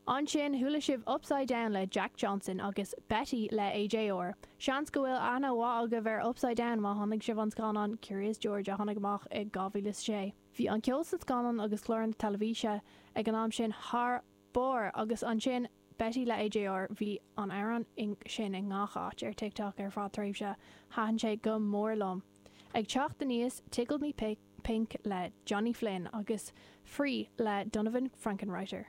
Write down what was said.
Ansin chuala sibh Upside Down le Jack Johnson agus Betty le AJR. Seans go bhfuil aithne mhaith agaibh ar Upside Down má chonaic sibh an scannán Curious George a tháinig amach i 2006. Bhí an ceol san scannán agus cláranna teilifíse ag an am sin thar barr agus ansin Betty le AJR, bhí an amhrán sin i ngach áit ar TikTok ar feadh tréimhse, thaitin sé go mór liom. Ag teacht aníos, Tickled Me Pink le Johnny Flynn agus Free le Donovan Frankenreiter.